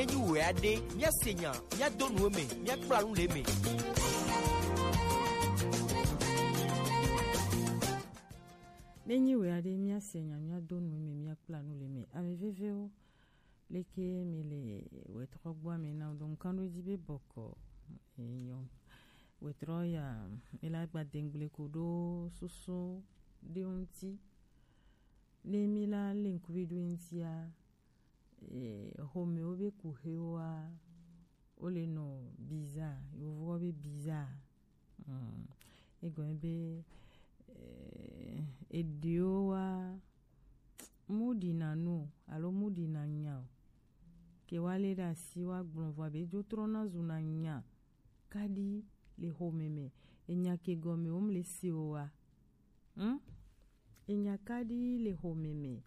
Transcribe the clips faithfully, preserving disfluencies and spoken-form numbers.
Enyi wɛ aɖe, míase nya, míado nu eme, míakpla nu le eme. Ne nyi wɛ aɖe, míase nya, míado nu eme, míakpla nu le eme. Ame vevewo, leke mi le wɛtrɔ gbɔ ame na do nkan ɖo edzi be bɔkɔ enyo. Wɛtrɔ ya, mi la gba dengble ko ɖo susu ɖe ŋuti. Ne mi la le ŋkuvi ɖo ŋutia, eh, xomewo be kuxewoa, wo le nɔ bizarre, yovo be bizarre. Hmm. Egɔme be, eh, eɖewo wa mu ɖina nu o, alo mu ɖina nya o. Ke wa le ɖe asi wa gblɔ vɔ be dzo trɔna zuna nya kaɖi le xome me. Enya ke gɔme wo mle se o wa. Hmm? Enya kaɖi le xome me.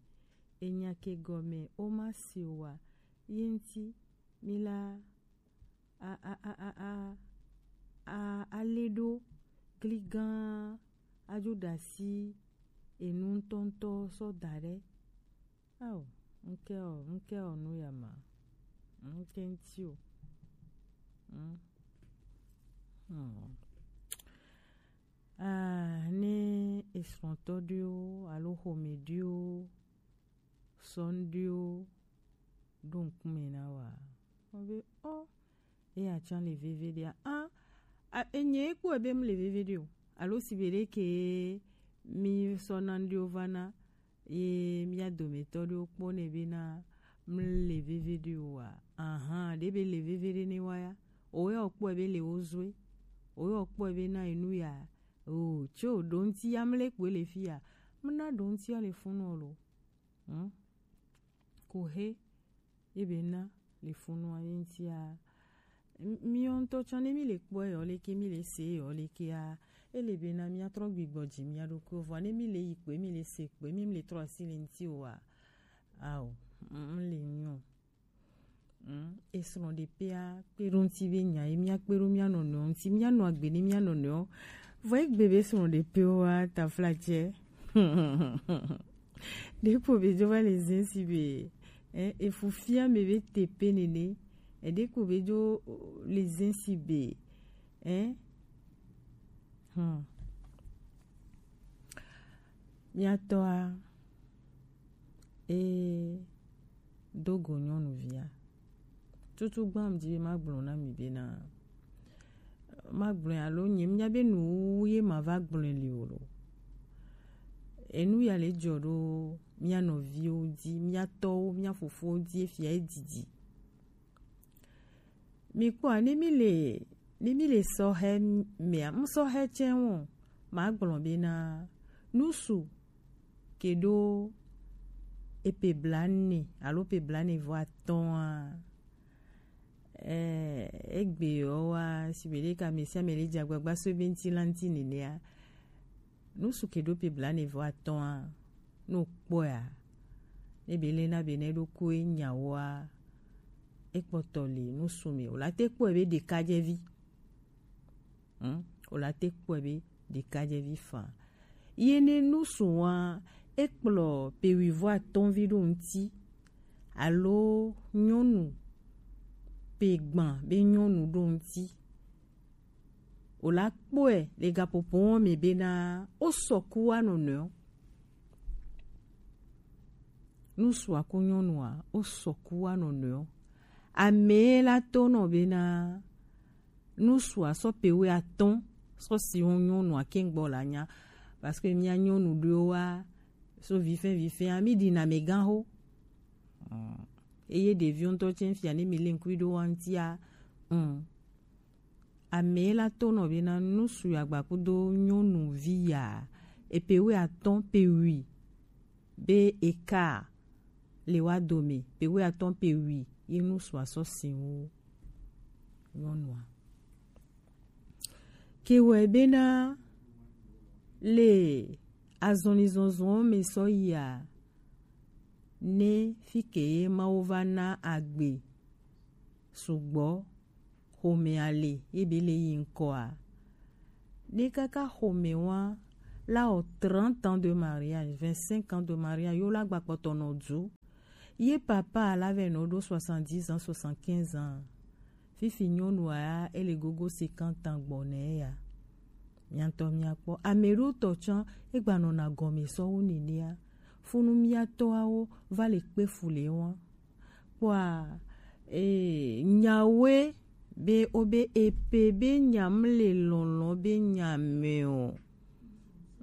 Enya ke gɔme wo ma se o wa. Ye ŋuti mi la a a a a a a a le ɖo gligan adzo ɖe asi enu ŋutɔŋutɔ sɔ da ɖe. Ao, ŋke o, ŋke o nu ya ma. Ŋke ŋti o. Hmm. Hmm. Ah, ne esrɔ̃tɔ ɖewo alo xome ɖewo sɔ ŋɖewo ɖo ŋkume na wa. Wo be, oh, eya tsã le veve ɖea? Ah, a, enye kpɔe be mle veve ɖe o. Alo si be ɖe ke mi sɔ na ŋɖewo va na ye mía dometɔ ɖewo kpɔ nɛ be na mle veve ɖe o wa? Ahan, ɖe be le veve ɖe ne wa ya. Owe o kpɔe be le wo zoe. Owe o kpɔe be na enu ya. O, tso ɖo ŋti ya mle kpɔe le fi ya. Mna ɖo ŋti ya le funu lo. Hmm? Kuxe ye be na le funu a ye ŋtia. M-, miɔ ŋutɔ tsã ne mi le kpɔe yɔ leke, mi le se yɔ lekea, ele be na mia trɔ gbigbɔ dzi mia ɖokui vɔ. Ne mi le yi kpɔe, mi le se kpɔe, mi le trɔ asi le ŋti o wa. Ao, m-, m-, le nyɔ. Mm, esrɔ̃ɖeƒea kpe ɖo ŋuti be nya ye míakpe ɖo mía nɔnɔewo ŋuti, míanɔ agbe ne mía nɔnɔewo. Vɔ egbe be srɔ̃ɖeƒewoa, taflatse. Ɖeko be dzo va le zẽ si be, eh, efu fia me be tepe nene. Eɖeko be dzo le zẽ si be, eh, hmm. Mía tɔa, e do go nyɔnuvia. Tutu gbã mdi be magblɔ na mi be na, magblɔe alo nye mía be nu ye ma va gblɔe li o lo. Enu ya le dzɔ ɖo mía nɔviwo dzi, mía tɔwo, mía fofowo dzi, efia edidi. Mi kpɔa, ne mi le, ne mi le sɔhɛ mea, ŋsɔhɛ tsɛ wɔ, ma gblɔ be na nusu ke ɖo epe blane alo pe blane vɔ atɔ̃a. Eh, egbe yɔ wa, si be ɖe ka me sia me le dze agbagba so ebe ŋti la ŋti nenea. Nusu ke ɖo pe blane vɔ atɔ̃a, no kpɔa, ne be le na be ne ɖo ko e nyawoa, ekpɔtɔ le nusu me. O la te kpɔe be ɖekadzevi. Hmm? O la te kpɔe be ɖekadzevi fa. Ye ne nusu wa, ekplɔ pe wi vɔ atɔ̃vi ɖo ŋti, alo nyɔnu pe gbã be nyɔnu ɖo ŋti. O la kpɔe le gaƒoƒo me be na o sɔku wa nɔnɔewo. Nusua ku nyɔnua, o sɔku wa nɔnɔewo. Ame la to nɔ be na nusua sɔ pe wi atɔ̃ sɔ si wo nyɔnua ke gbɔ la nya. Parce que mía nyɔnu ɖewo wa so vifɛ vifɛ, ami ɖi na me gan ho. Mm. Eye ɖeviwo ŋutɔ tsɛ fia ne mi le ŋkui ɖo wa ŋtia. Mm. Ame la to nɔ be na nusu ya gba kudo nyɔnuvi ya, epe wi atɔ̃ pe wi be eka le wa dome, pe wi atɔ̃ pe wi ye nusua sɔ si wo nyɔnua. Ke wɛ be na le azɔnizɔnzɔn me sɔ yia, ne fi ke ye Mawu va na agbe sugbɔ xomea le, ye be le yi ŋkɔa. Ne kaka xome wa la o trente ans de mariage, vingt-cinq ans de mariage, yo la gba kpɔtɔ nɔ du. Ye papa la vɛ nɔ ɖo soixante-dix ans, soixante-quinze ans. Fifi nyɔnu a ele gogo cinquante ans gbɔ nɛ ya. Miatɔ miakpɔ. Ame ɖo tɔ tsã egba nɔna gɔme sɔwu nenea. Funu miatɔawo va le kpe fu le wa. Kpɔa, eh, nyawe be o be epe be nya mle lɔlɔ be nya me o.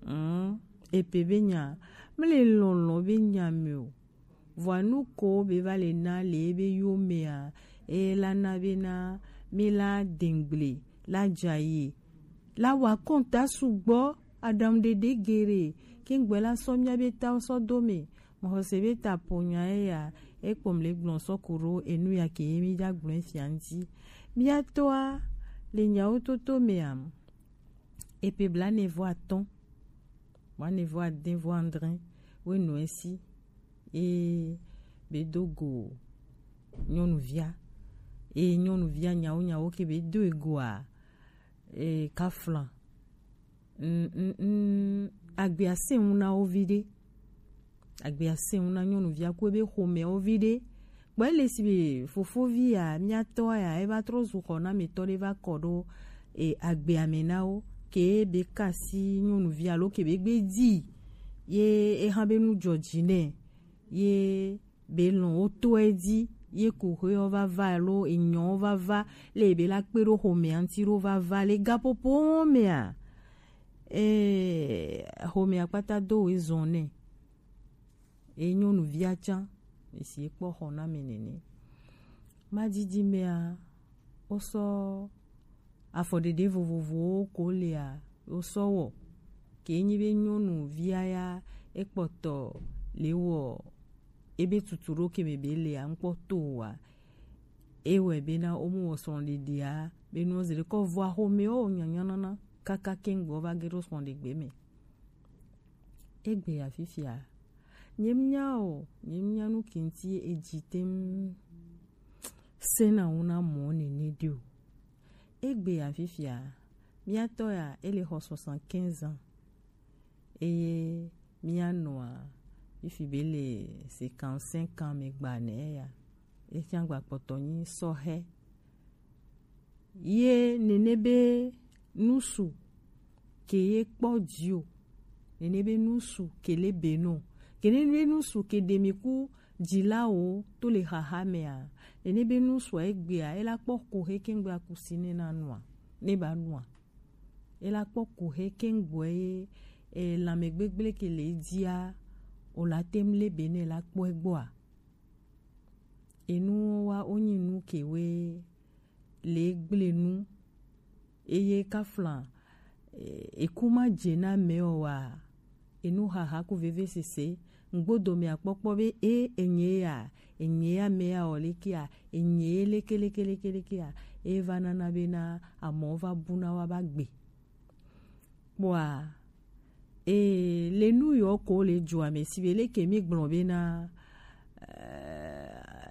Mm, epe be nya mle lɔlɔ be nya me o. Vɔa nu ko be va le na le ebe yo mea, e la na be na mi la dengble la dzaye la wa kɔnta sugbɔ aɖaŋu ɖeɖe geɖe. Ke ŋgbɛ la sɔ mia be ta sɔ do me. Mɔxɔse be ta ponya eya ekpɔm le gblɔ sɔ ku ɖo enu ya ke ye mi dza gblɔ fia ŋti. Mia tɔa le nyawo toto mea, epe bla ne vɔ atɔn, bla ne vɔ ade vɔ andre, we nɔ esi e be do go nyɔnuvia, e nyɔnuvia nyawo nyawo ke be do egoa, e kaflan. Mm, mm, mm, agbea se ŋu na wo vi ɖe. Agbea se ŋu na nyɔnuvia ku ebe xomea wo vi ɖe. Gbɔ ele si be fofovi ya, miatɔ ya, eva trɔ zu xɔnametɔ ɖe va kɔ ɖo, e, agbea me na wo. Ke be kasi nyɔnuvia alo ke be gbe di ye eha be nu dzɔ dzi nɛ ye be lɔn wo to edzi ye ku xeɔ va va alo enyɔ va va le be la kpe ɖo xomea ŋti ɖo va va le gaƒoƒo mea, eh, xomea kpata do we zɔn nɛ. E nyɔnuvia tsã esi ekpɔ xɔ na me nene. Madidi mea, wosɔ afɔɖeɖe vovovowo ko lea wosɔ wɔ ke nyi be nyɔnuvia ya ekpɔtɔ le wɔ ebe tutu ɖo ke me be lea ŋkpɔ to wa. Ewɛ bena womu wɔ srɔ̃ɖeɖea be nuwo zi ɖe kɔ vɔa xomɛwo nyanya nana kaka keŋ gbɔ va ge ɖo srɔ̃ɖegbe me. Egbe ya fifia, nyemnya o, nyemnya nu ke ŋti edzi tem sena ŋu na mɔ nene ɖi o. Egbe ya fifia, miatɔ ya ele xɔ soixante-quinze ans. Eye mianɔa fifi be le cinquante-cinq ans me gba nɛ ya. Efiã gba kpɔtɔ nyi sɔhɛ. Ye nene be nusu ke ye kpɔ dzi o. Nene be nusu ke le be no. Ke nene be nusu ke ɖe mi ku dzilawo to le xaxa mea. Nene be nusu egbea ela kpɔ ku he kengbe akusi ne na nua. Ne ba nua. Ela kpɔ ku he kengbe ye e lãme gbegble ke le dzia o la tem le be ne la kpɔ egbɔa. Enu wa wonyi nu ke we le gble nu eye kafla, e, eku ma dze na me o wa enu xaxa ku veve sese ŋgbodo me akpɔkpɔ be e enye ya enye ya me ya o leke ya enye ye leke leke leke leke ya e va nana be na amɔ va bu na wa ba gbe. Kpɔa, ee, le nu yɔ ko le dzoa me si be leke mi gblɔ be na,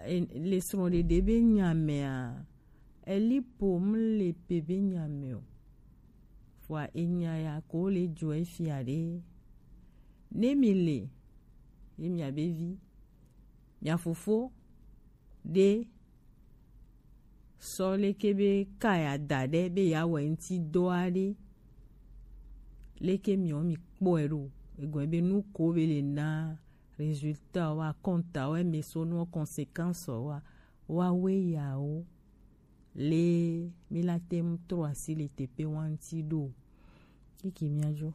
eh, le srɔ̃ɖeɖe be nya mea, eli po mu le pe be nya me o. Vɔa enya ya ko le dzoa efia ɖe. Ne mi le, ye mia be vi, mia fofo ɖe sɔ leke be ka ya da ɖe be ya wɔ ŋti dɔ aɖe. Leke miɔ mi kpɔe ɖo? Egɔme be nu ko be le na résultat wa, compte wa, eme so nu conséquence wa, wa we yawo. Le mi la tem trɔ asi le tepe wa ŋti ɖo. Kiki miadzo.